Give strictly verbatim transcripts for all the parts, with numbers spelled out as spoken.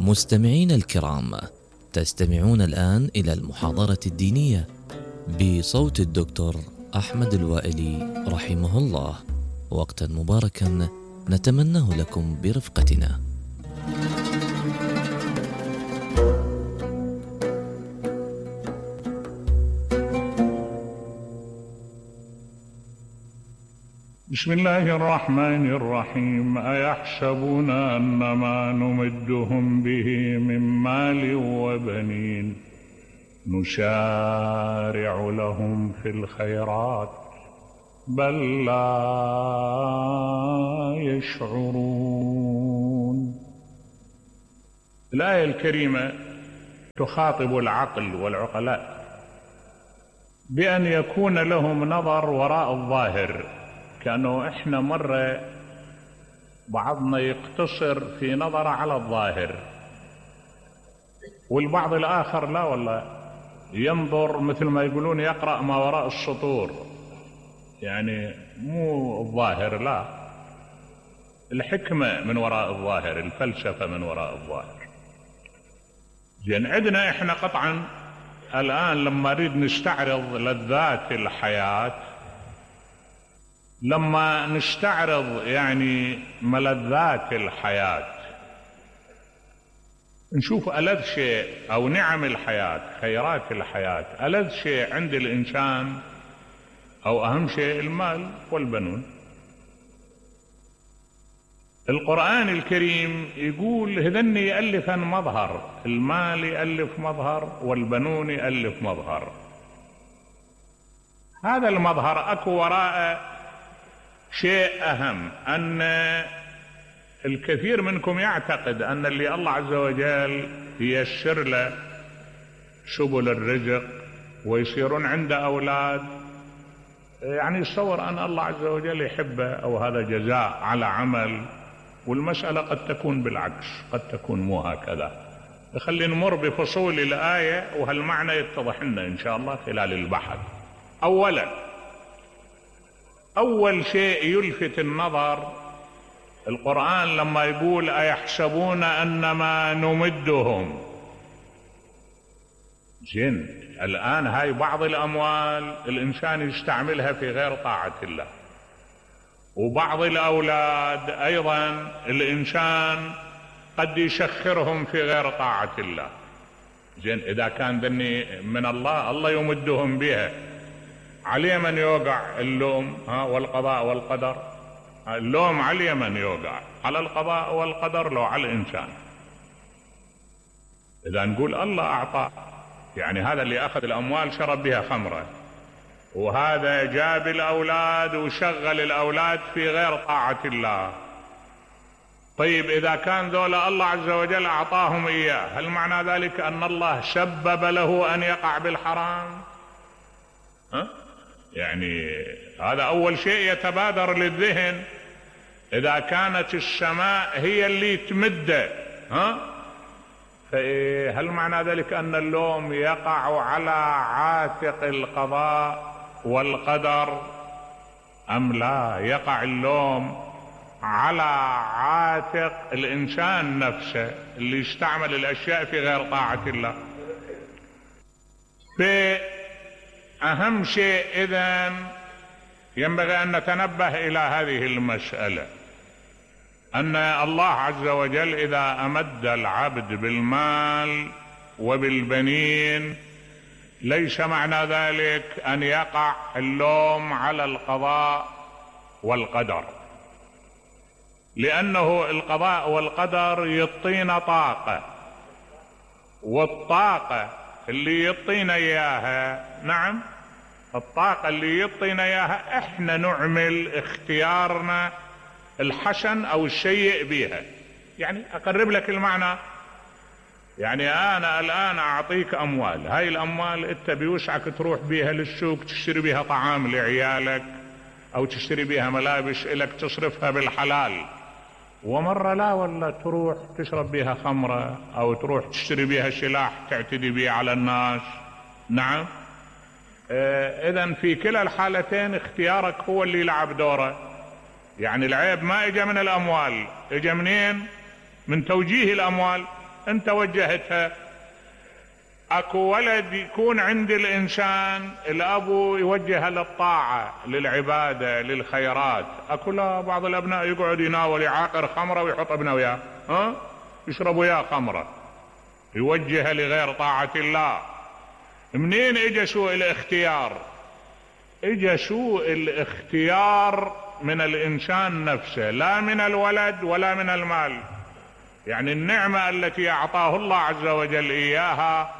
مستمعين الكرام، تستمعون الآن إلى المحاضرة الدينية بصوت الدكتور أحمد الوائلي رحمه الله. وقتا مباركا نتمناه لكم برفقتنا. بسم الله الرحمن الرحيم. أيحسبون أنما نمدهم به من مال وبنين نسارع لهم في الخيرات بل لا يشعرون. الآية الكريمة تخاطب العقل والعقلاء بأن يكون لهم نظر وراء الظاهر، كأنه إحنا مرة بعضنا يقتصر في نظر على الظاهر، والبعض الآخر لا والله ينظر مثل ما يقولون يقرأ ما وراء السطور، يعني مو الظاهر، لا، الحكمة من وراء الظاهر، الفلسفة من وراء الظاهر. زين، عندنا إحنا قطعا الآن لما نريد نستعرض لذات الحياة، لما نستعرض يعني ملذات الحياة، نشوف ألذ شيء أو نعم الحياة، خيرات الحياة، ألذ شيء عند الإنسان أو أهم شيء المال والبنون. القرآن الكريم يقول هذن يألفن مظهر، المال يألف مظهر والبنون يألف مظهر. هذا المظهر أكو وراء شيء أهم، أن الكثير منكم يعتقد أن اللي الله عز وجل ييسر له سبل الرزق ويصيرون عنده أولاد، يعني يتصور أن الله عز وجل يحبه أو هذا جزاء على عمل، والمسألة قد تكون بالعكس، قد تكون مو هكذا. خلينا نمر بفصول الآية وهالمعنى يتضح لنا إن شاء الله خلال البحث. أولا، أول شيء يلفت النظر القرآن لما يقول أيحسبون أنما نمدهم. زين، الآن هاي بعض الأموال الإنسان يستعملها في غير طاعة الله، وبعض الأولاد أيضا الإنسان قد يسخرهم في غير طاعة الله. زين، إذا كان ذني من الله، الله يمدهم بها، عليه من يوقع اللوم ها والقضاء والقدر؟ اللوم عليه من يوقع، على القضاء والقدر لو على الإنسان. إذا نقول الله أعطى، يعني هذا اللي أخذ الأموال شرب بها خمرة، وهذا جاب الأولاد وشغل الأولاد في غير طاعة الله. طيب إذا كان ذولا الله عز وجل أعطاهم إياه، هل معنى ذلك أن الله سبب له أن يقع بالحرام؟ ها؟ يعني هذا أول شيء يتبادر للذهن. إذا كانت السماء هي اللي تمده، ها؟ هل معنى ذلك أن اللوم يقع على عاتق القضاء والقدر أم لا؟ يقع اللوم على عاتق الإنسان نفسه اللي يستعمل الأشياء في غير طاعة الله. فأهم شيء إذن ينبغي أن نتنبه إلى هذه المسألة، أن الله عز وجل إذا أمد العبد بالمال وبالبنين ليس معنى ذلك أن يقع اللوم على القضاء والقدر، لأنه القضاء والقدر يعطينا طاقة، والطاقة اللي يعطينا إياها، نعم، الطاقة اللي يعطينا إياها إحنا نعمل اختيارنا الحسن أو السيء بها. يعني أقرب لك المعنى، يعني أنا الآن أعطيك أموال، هاي الأموال أنت بيوسعك تروح بيها للسوق تشتري بيها طعام لعيالك، أو تشتري بيها ملابس إلك تصرفها بالحلال، ومرة لا والله تروح تشرب بيها خمرة، أو تروح تشتري بيها سلاح تعتدي بيه على الناس. نعم، إذن في كلا الحالتين اختيارك هو اللي يلعب دوره. يعني العيب ما اجى من الأموال، اجى منين؟ من توجيه الأموال. انت وجهتها. اكو ولد يكون عند الانسان الابو يوجهه للطاعة للعبادة للخيرات، اكو لا بعض الابناء يقعد يناول يعاقر خمرة ويحط ابنه وياه ها يشرب وياه خمرة، يوجهه لغير طاعة الله. منين اجى سوء الاختيار؟ اجى سوء الاختيار من الانسان نفسه، لا من الولد ولا من المال. يعني النعمة التي اعطاه الله عز وجل اياها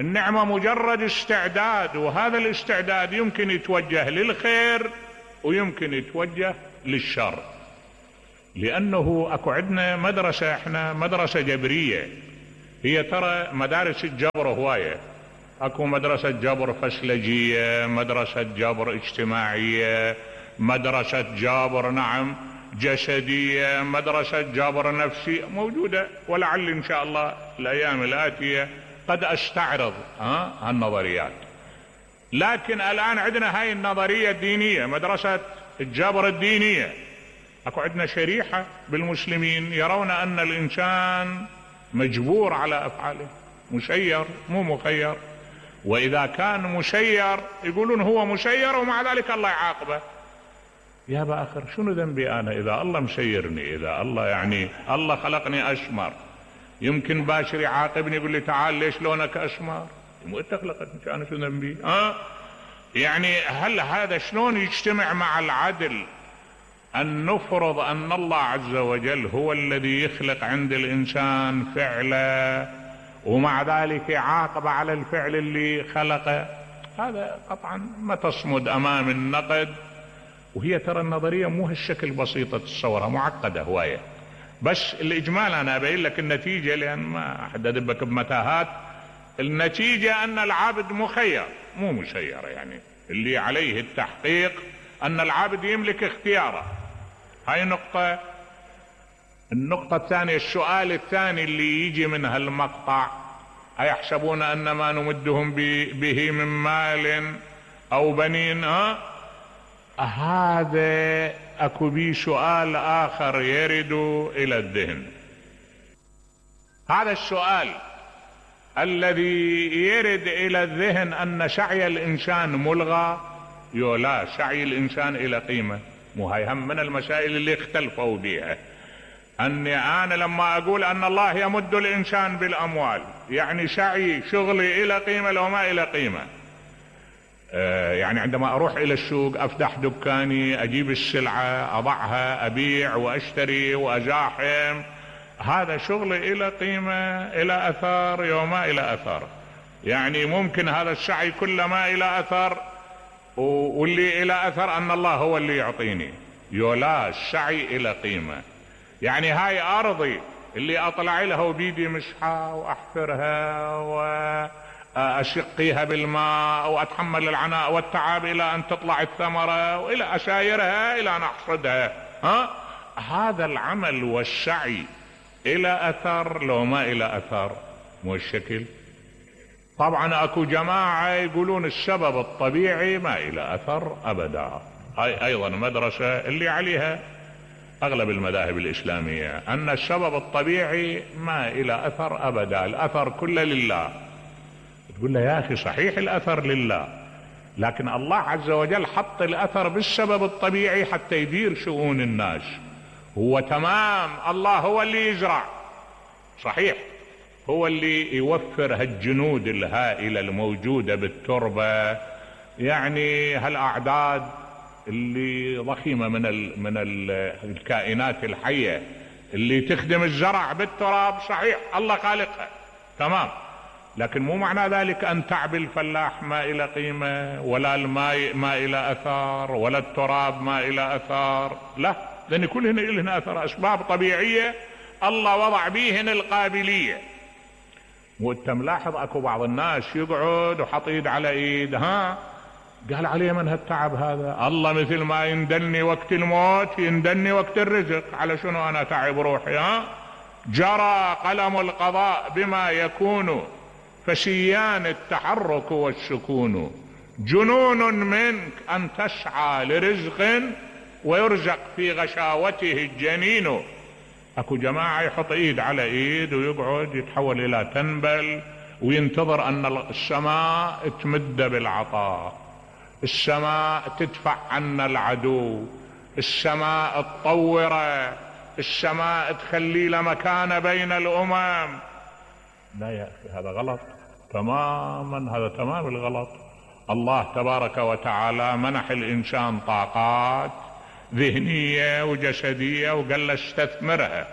النعمة مجرد استعداد، وهذا الاستعداد يمكن يتوجه للخير ويمكن يتوجه للشر. لانه اكو عندنا مدرسة، احنا مدرسة جبرية، هي ترى مدارس الجبر هواية. اكو مدرسة جبر فسلجية، مدرسة جبر اجتماعية، مدرسة جبر نعم جسدية، مدرسة جبر نفسي موجودة، ولعل ان شاء الله الايام الاتية قد استعرض ها هالنظريات. لكن الان عندنا هاي النظرية الدينية، مدرسة الجبر الدينية. اكو عندنا شريحة بالمسلمين يرون ان الانسان مجبور على افعاله، مسير مو مخير، واذا كان مسير يقولون هو مسير ومع ذلك الله يعاقبه. يا باخر شنو ذنبي انا اذا الله مسيرني؟ اذا الله يعني الله خلقني اشمر، يمكن باشر يعاقبني يقول لي تعال ليش لونك اشمر؟ مو انت خلقتني، انا شو ذنبي؟ ها يعني هل هذا شلون يجتمع مع العدل ان نفرض ان الله عز وجل هو الذي يخلق عند الانسان فعله ومع ذلك يعاقب على الفعل اللي خلقه؟ هذا قطعا ما تصمد امام النقد. وهي ترى النظرية مو هالشكل بسيطة تتصورها، معقدة هواية. بس الاجمال انا ابين لك النتيجة لان ما احد ادبك بمتاهات. النتيجة ان العبد مخير مو مسير، يعني اللي عليه التحقيق ان العبد يملك اختياره. هاي نقطة. النقطة الثانية، السؤال الثاني اللي يجي من هالمقطع، أيحسبون أن ما نمدهم به من مال أو بنين؟ ها هذا أكو بي سؤال آخر يرد إلى الذهن. هذا السؤال الذي يرد إلى الذهن أن سعي الإنسان ملغى. يولا سعي الإنسان إلى قيمة، مو هاي هم من المسائل اللي اختلفوا بها. أني أنا لما أقول أن الله يمد الإنسان بالأموال يعني سعي شغلي إلى قيمة لو ما إلى قيمة. آه يعني عندما أروح إلى السوق أفتح دكاني أجيب السلعة أضعها أبيع وأشتري وأزاحم، هذا شغلي إلى قيمة إلى أثار يوم ما إلى أثار. يعني ممكن هذا السعي كله ما إلى أثر، واللي إلى أثر أن الله هو اللي يعطيني. يولا السعي إلى قيمة. يعني هاي أرضي اللي أطلع لها وبيدي مسحة وأحفرها وأشقيها بالماء وأتحمل العناء والتعب إلى أن تطلع الثمرة وإلى أشايرها إلى أن أحصدها، ها هذا العمل والسعي إلى أثر لو ما إلى أثر مو الشكل. طبعا أكو جماعة يقولون السبب الطبيعي ما إلى أثر أبدا. هاي أيضا مدرسة اللي عليها أغلب المذاهب الإسلامية، أن السبب الطبيعي ما إلى أثر أبدا، الأثر كله لله. تقول له يا أخي صحيح الأثر لله، لكن الله عز وجل حط الأثر بالسبب الطبيعي حتى يدير شؤون الناس. هو تمام، الله هو اللي يزرع صحيح، هو اللي يوفر هالجنود الهائلة الموجودة بالتربة، يعني هالأعداد اللي ضخيمة من ال من ال الكائنات الحية اللي تخدم الزرع بالتراب. صحيح الله خالقها تمام، لكن مو معنى ذلك أن تعب الفلاح ما إلى قيمة، ولا الماء ما إلى أثار، ولا التراب ما إلى أثار. لا، لأن كلهن إلهن أثر، أسباب طبيعية الله وضع بيهن القابلية. وانت ملاحظ اكو بعض الناس يقعد وحط ايد على ايد، ها قال عليه من هالتعب هذا؟ الله مثل ما يندلني وقت الموت يندلني وقت الرزق، على شنو انا تعب روحي؟ ها جرى قلم القضاء بما يكون فسيان التحرك والسكون، جنون منك ان تسعى لرزق ويرزق في غشاوته الجنين. اكو جماعة يحط ايد على ايد ويقعد يتحول الى تنبل وينتظر ان السماء تمد بالعطاء، السماء تدفع عنا العدو، السماء تطوره، السماء تخلي له مكانة بين الامم. لا يا اخي، هذا غلط تماما، هذا تمام الغلط. الله تبارك وتعالى منح الانسان طاقات ذهنية وجسدية وقال له استثمرها،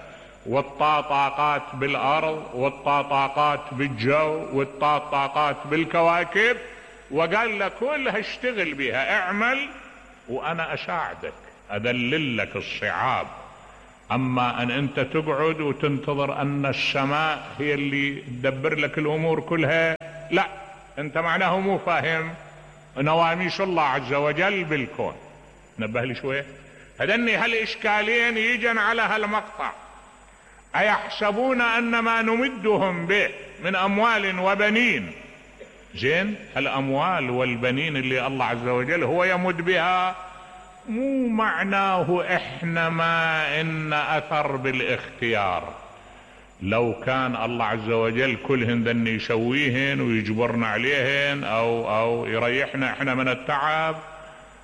والطا طاقات بالارض، والطا طاقات بالجو، والطا طاقات بالكواكب، وقال له كلها اشتغل بها، اعمل وانا اساعدك، اذلل لك الصعاب. اما ان انت تقعد وتنتظر ان السماء هي اللي تدبر لك الامور كلها، لا، انت معناه مو فاهم نواميس الله عز وجل بالكون. نبه لي شوية. هذني هالاشكالين يجن على هالمقطع. ايحسبون ان ما نمدهم به من اموال وبنين، زين الاموال والبنين اللي الله عز وجل هو يمد بها، مو معناه احنا ما ان اثر بالاختيار. لو كان الله عز وجل كلهن ذن يسويهن ويجبرنا عليهن او او يريحنا احنا من التعب،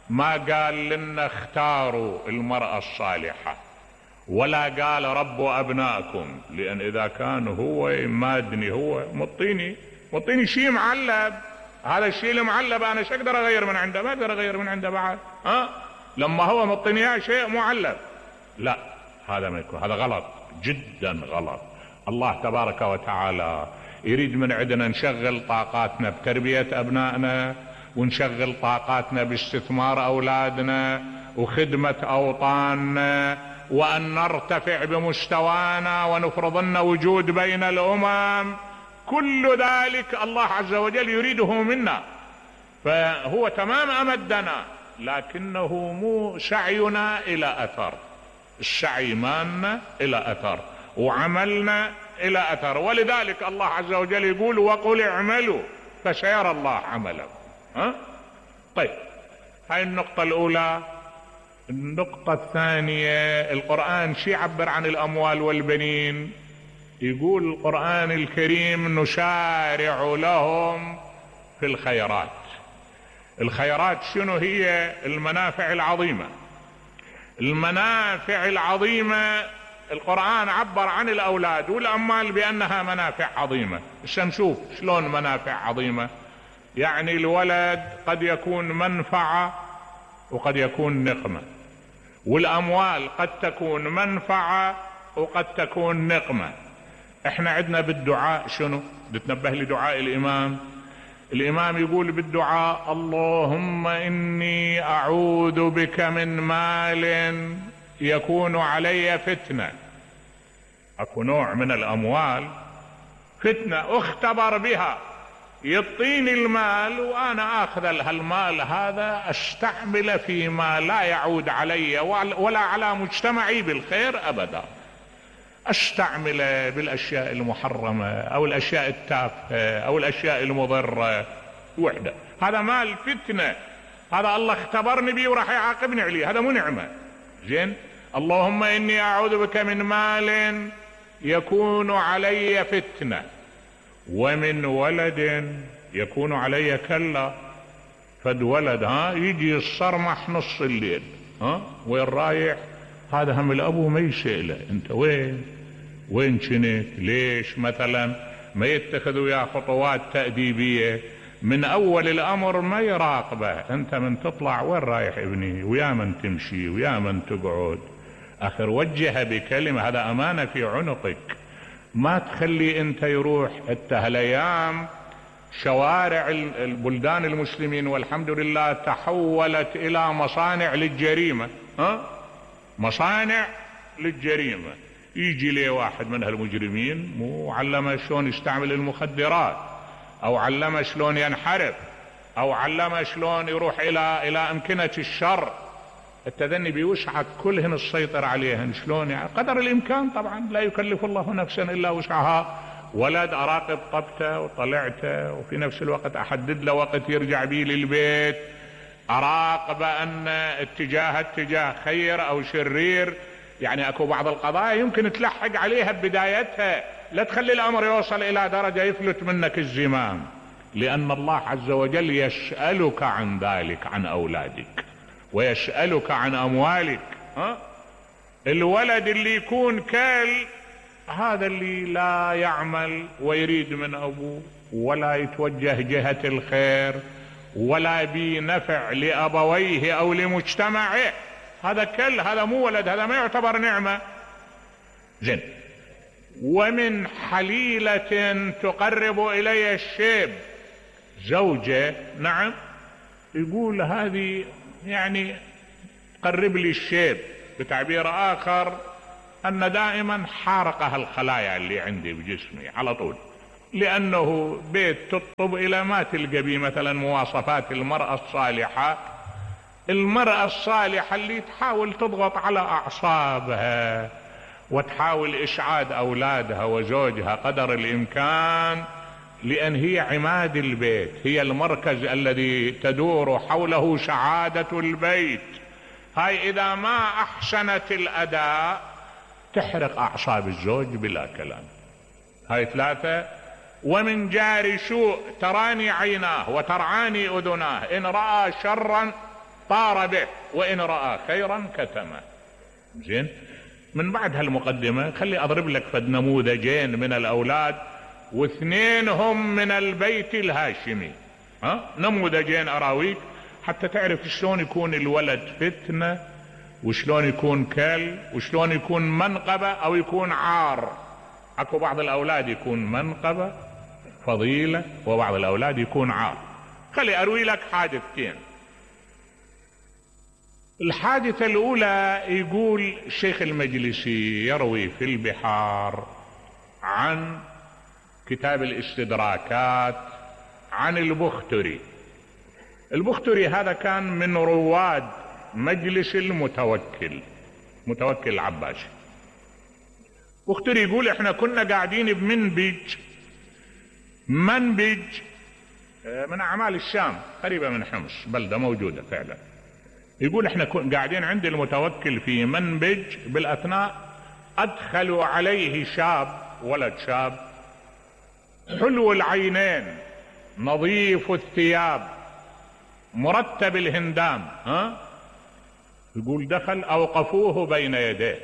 ما قال لنا اختاروا المرأة الصالحة، ولا قال ربوا ابنائكم، لان اذا كان هو مادني، هو مطيني مطيني شيء معلب، هذا الشيء المعلب انا شو اقدر اغير من عنده؟ ما اقدر اغير من عنده بعد، ها؟ لما هو مطيني شيء معلب، لا، هذا ما يكون، هذا غلط جدا غلط. الله تبارك وتعالى يريد من عندنا نشغل طاقاتنا بتربية ابنائنا، ونشغل طاقاتنا باستثمار اولادنا وخدمة اوطاننا، وان نرتفع بمستوانا ونفرض لنا وجود بين الامم. كل ذلك الله عز وجل يريده منا، فهو تمام امدنا، لكنه مو سعينا الى اثر. السعي مالنا الى اثر وعملنا الى اثر، ولذلك الله عز وجل يقول وقل اعملوا فسيرى الله عملكم. ها؟ طيب، هاي النقطة الاولى. النقطة الثانية، القرآن شي يعبر عن الاموال والبنين؟ يقول القرآن الكريم نسارع لهم في الخيرات. الخيرات شنو هي؟ المنافع العظيمة. المنافع العظيمة القرآن عبر عن الاولاد والاموال بانها منافع عظيمة. نشوف شلون منافع عظيمة. يعني الولد قد يكون منفعة وقد يكون نقمة، والاموال قد تكون منفعة وقد تكون نقمة. احنا عندنا بالدعاء شنو؟ بتنبه لدعاء الامام. الامام يقول بالدعاء اللهم اني اعوذ بك من مال يكون علي فتنة. اكو نوع من الاموال فتنة اختبر بها، يعطيني المال وانا اخذ هالمال هذا استعمله فيما لا يعود علي ولا على مجتمعي بالخير ابدا، استعمله بالاشياء المحرمة او الاشياء التافهة او الاشياء المضرة وحدة. هذا مال فتنة، هذا الله اختبرني بيه وراح يعاقبني عليه، هذا مو نعمة. زين، اللهم اني اعوذ بك من مال يكون علي فتنة، ومن ولد يكون علي كلا. فد ولد ها يجي الصرمح نص الليل، ها وين رايح؟ هذا هم الابو ما يسأله انت وين وين كنت ليش مثلا، ما يتخذ وياه خطوات تأديبية من اول الامر، ما يراقبه انت من تطلع وين رايح ابني، ويا من تمشي ويا من تقعد. اخر وجه بكلمة، هذا امانة في عنقك، ما تخلي انت يروح. انت هالايام شوارع البلدان المسلمين والحمد لله تحولت الى مصانع للجريمة، ها مصانع للجريمة. يجي لي واحد من هالمجرمين مو علمه شلون يستعمل المخدرات، او علمه شلون ينحرف، او علمه شلون يروح الى الى امكنة الشر. التذني بيوسعك كلهن السيطر عليهن شلون، يعني قدر الامكان طبعا، لا يكلف الله نفسا الا وسعها. ولد اراقب طبته وطلعته، وفي نفس الوقت احدد له وقت يرجع بيه للبيت، اراقب ان اتجاه اتجاه خير او شرير، يعني اكو بعض القضايا يمكن تلحق عليها ببدايتها، لا تخلي الامر يوصل الى درجة يفلت منك الزمام، لان الله عز وجل يسألك عن ذلك، عن اولادك، ويسألك عن اموالك. ها؟ الولد اللي يكون كال هذا اللي لا يعمل ويريد من ابوه ولا يتوجه جهة الخير ولا بنفع لابويه او لمجتمعه، هذا كل، هذا مو ولد، هذا ما يعتبر نعمة. زين. ومن حليلة تقرب الي الشيب، زوجة نعم يقول هذه يعني تقرب لي الشيب، بتعبير اخر ان دائما حارقها الخلايا اللي عندي بجسمي على طول، لانه بيت تطب الى ما تلقى بيه مثلا مواصفات المرأة الصالحة، المرأة الصالحة اللي تحاول تضغط على اعصابها وتحاول اشعاد اولادها وزوجها قدر الامكان، لان هي عماد البيت، هي المركز الذي تدور حوله سعادة البيت. هاي اذا ما احسنت الاداء تحرق اعصاب الزوج بلا كلام. هاي ثلاثة. ومن جار سوء تراني عيناه وترعاني اذناه، ان رأى شرا طار به وان رأى خيرا كتمه. زين. من بعد هالمقدمة خلي اضرب لك فد نموذجين من الاولاد، واثنين هم من البيت الهاشمي. ها؟ نموذجين اراويك حتى تعرف شلون يكون الولد فتنة، وشلون يكون كل، وشلون يكون منقبة او يكون عار. اكو بعض الاولاد يكون منقبة فضيلة، وبعض الاولاد يكون عار. خلي اروي لك حادثتين. الحادثة الاولى يقول الشيخ المجلسي يروي في البحار عن كتاب الاستدراكات عن البختري. البختري هذا كان من رواد مجلس المتوكل، متوكل العباسي. بختري يقول احنا كنا قاعدين بمنبج، منبج من اعمال الشام قريبة من حمص، بلدة موجودة فعلا. يقول احنا قاعدين عند المتوكل في منبج، بالاثناء ادخلوا عليه شاب، ولد شاب حلو العينين نظيف الثياب مرتب الهندام. ها؟ يقول دخل اوقفوه بين يديه.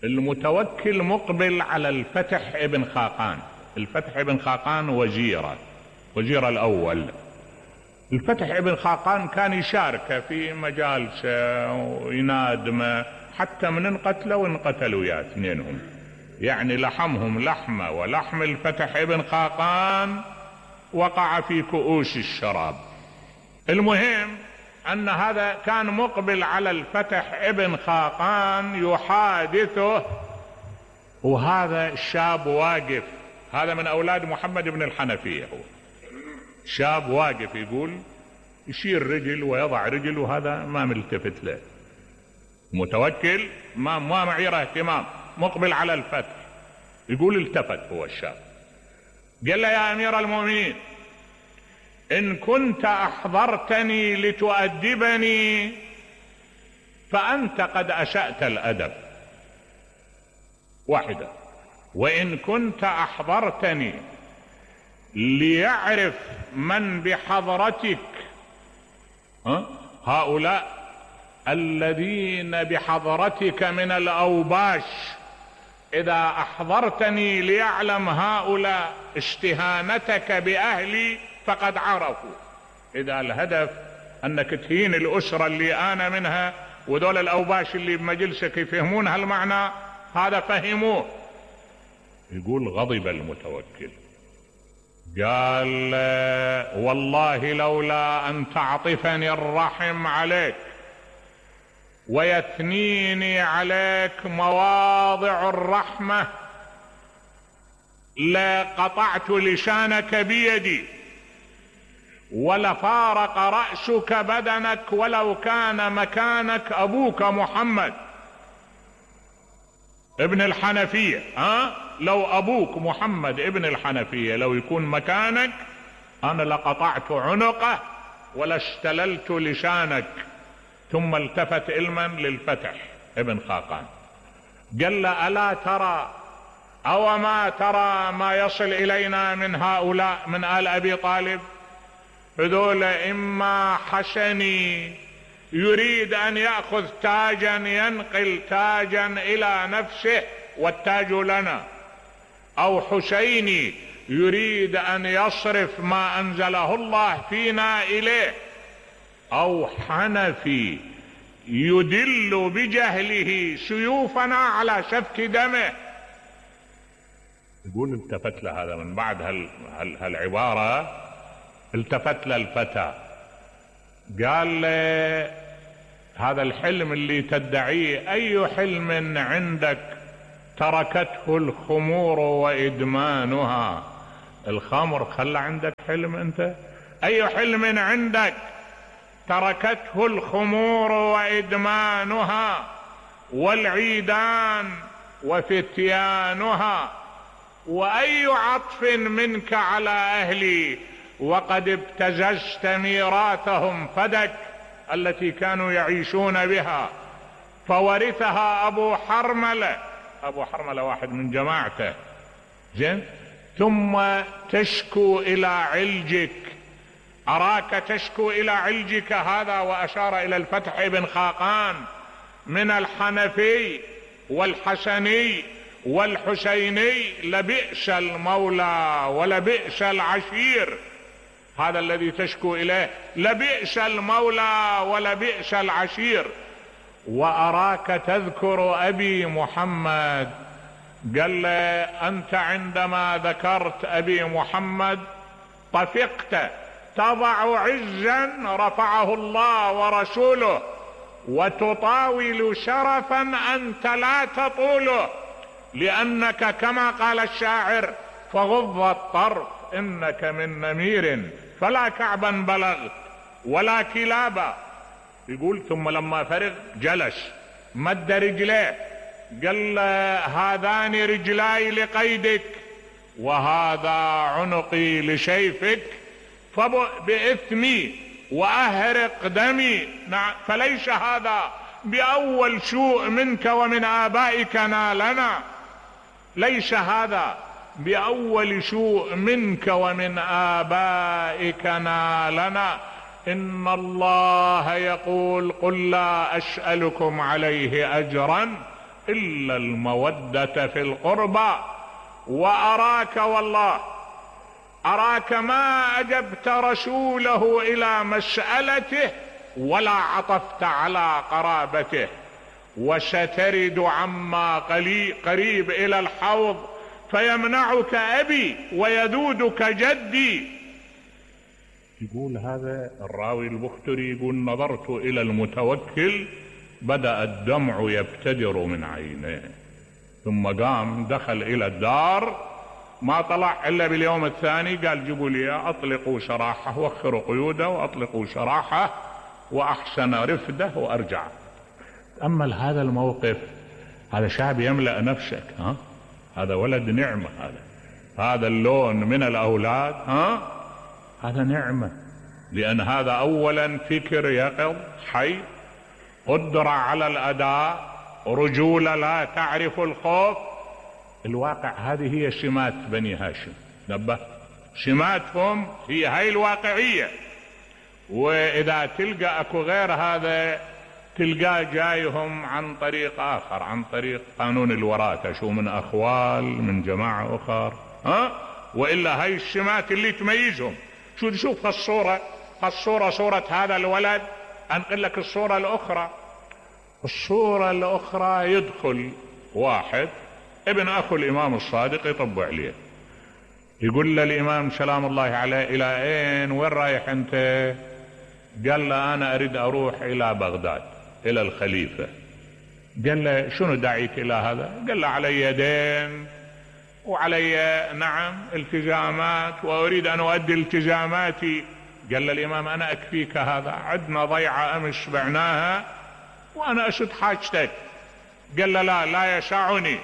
المتوكل مقبل على الفتح ابن خاقان. الفتح ابن خاقان وزيره، وزير الاول. الفتح ابن خاقان كان يشارك في مجالسه وينادمه، حتى من انقتلوا وانقتلوا يا اثنينهم، يعني لحمهم لحمه، ولحم الفتح ابن خاقان وقع في كؤوس الشراب. المهم ان هذا كان مقبل على الفتح ابن خاقان يحادثه، وهذا الشاب واقف، هذا من اولاد محمد بن الحنفية، هو شاب واقف يقول يشير رجل ويضع رجل، وهذا ما ملتفت له. متوكل ما ما معيره اهتمام، مقبل على الفتح. يقول التفت هو الشاب قال له يا امير المؤمنين ان كنت احضرتني لتؤدبني فانت قد اسأت الادب، واحدة. وان كنت احضرتني ليعرف من بحضرتك ها؟ هؤلاء الذين بحضرتك من الاوباش، اذا احضرتني ليعلم هؤلاء استهانتك باهلي فقد عرفوا. اذا الهدف انك تهين الاسرة اللي انا منها، وذول الاوباش اللي بمجلسك يفهمون هالمعنى، هذا فهموه. يقول غضب المتوكل قال والله لولا ان تعطفني الرحم عليك ويثنيني عليك مواضع الرحمة لقطعت لسانك بيدي ولفارق رأسك بدنك ولو كان مكانك ابوك محمد ابن الحنفية. ها؟ لو ابوك محمد ابن الحنفية لو يكون مكانك انا لقطعت عنقه ولا استللت لسانك. ثم التفت علما للفتح ابن خاقان. قال له ألا ترى أو ما ترى ما يصل إلينا من هؤلاء من آل أبي طالب؟ هذول إما حسني يريد أن يأخذ تاجا ينقل تاجا إلى نفسه والتاج لنا، أو حسيني يريد أن يصرف ما أنزله الله فينا إليه، أو حنفي يدل بجهله سيوفنا على سفك دمه. يقول التفت له هذا من بعد هال هال هالعبارة، التفت له الفتى قال له هذا الحلم اللي تدعيه أي حلم عندك تركته الخمور وإدمانها؟ الخمر خلى عندك حلم انت؟ أي حلم عندك تركته الخمور وإدمانها والعيدان وفتيانها؟ وأي عطف منك على أهلي وقد ابتززت ميراثهم فدك التي كانوا يعيشون بها، فورثها أبو حرملة. أبو حرملة واحد من جماعته، زين، ثم تشكو إلى علجك، أراك تشكو إلى علجك هذا، وأشار إلى الفتح ابن خاقان، من الحنفي والحسني والحسيني لبئس المولى ولبئس العشير. هذا الذي تشكو إليه، لبئس المولى ولبئس العشير. وأراك تذكر أبي محمد. قال له أنت عندما ذكرت أبي محمد طفقت تضع عزا رفعه الله ورسوله، وتطاول شرفا أنت لا تطوله، لأنك كما قال الشاعر فغض الطرف إنك من نمير فلا كعبا بلغت ولا كلابا. يقول ثم لما فرغ جلس مد رجليه، قال هذان رجلاي لقيدك وهذا عنقي لشيفك، فبإثمي وأهرق دمي، فليس هذا بأول سوء منك ومن آبائك نالنا، ليس هذا بأول سوء منك ومن آبائك نالنا. إن الله يقول قل لا أسألكم عليه أجرا إلا المودة في القربى. وأراك والله أراك ما أجبت رسوله إلى مسألته ولا عطفت على قرابته، وسترد عما قريب إلى الحوض فيمنعك أبي ويذودك جدي. يقول هذا الراوي البختري يقول نظرت إلى المتوكل بدأ الدمع يبتدر من عينيه، ثم قام دخل إلى الدار، ما طلع إلا باليوم الثاني قال جيبوا لي أطلقوا سراحه، وخروا قيوده وأطلقوا سراحه وأحسن رفده وأرجع. تأمل هذا الموقف، هذا شعب يملأ نفسك، ها؟ هذا ولد نعمة، هذا هذا اللون من الأولاد، ها؟ هذا نعمة، لأن هذا أولا فكر يقظ حي، قدرة على الأداء، رجولة لا تعرف الخوف. الواقع هذه هي سمات بني هاشم، نبه، سماتهم هي هاي الواقعية. وإذا تلقى أكو غير هذا تلقاه جايهم عن طريق آخر، عن طريق قانون الوراثة، شو من أخوال من جماعة أخر، ها؟ وإلا هاي السمات اللي تميزهم. شو تشوف الصورة، الصورة صورة هذا الولد، أنقل لك الصورة الأخرى. الصورة الأخرى يدخل واحد ابن أخو الإمام الصادق يطب عليه، يقول له الإمام سلام الله عليه إلى أين، وين رايح أنت؟ قال له أنا أريد أروح إلى بغداد إلى الخليفة. قال له شنو داعيك إلى هذا؟ قال له علي دين وعلي نعم التزامات وأريد أن أؤدي التزاماتي. قال له الإمام أنا أكفيك هذا، عندنا ضيعة أمس بعناها وأنا أسد حاجتك. قال له لا لا يسعني.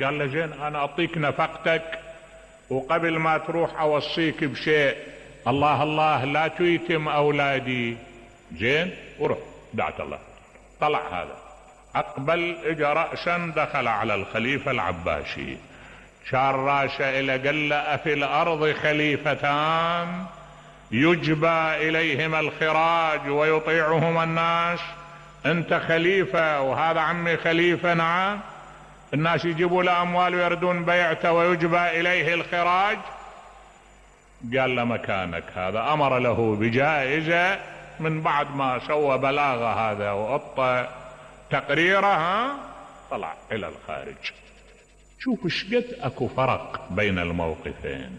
قال له زين أنا أعطيك نفقتك، وقبل ما تروح أوصيك بشيء، الله الله لا تيتم أولادي، زين؟ وروح دعت الله. طلع هذا أقبل إجا رأسا دخل على الخليفة العباسي، شار راسه إلى قال له: أفي الأرض خليفتان يجبى إليهما الخراج ويطيعهما الناس؟ أنت خليفة وهذا عمي خليفة. نعم. الناس يجيبوا له أموال ويردون بيعته ويجبى إليه الخراج. قال له: مكانك هذا. أمر له بجائزة من بعد ما سوى بلاغة هذا وأطى تقريرها، طلع إلى الخارج. شوف شقد أكو فرق بين الموقفين.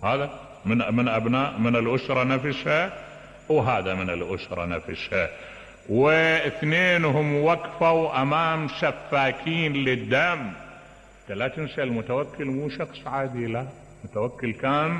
هذا من من أبناء من الأسرة نفسها، وهذا من الأسرة نفسها، واثنينهم وقفوا أمام سفاكين للدم. لا تنسى المتوكل مو شخص عادي، لا، متوكل كان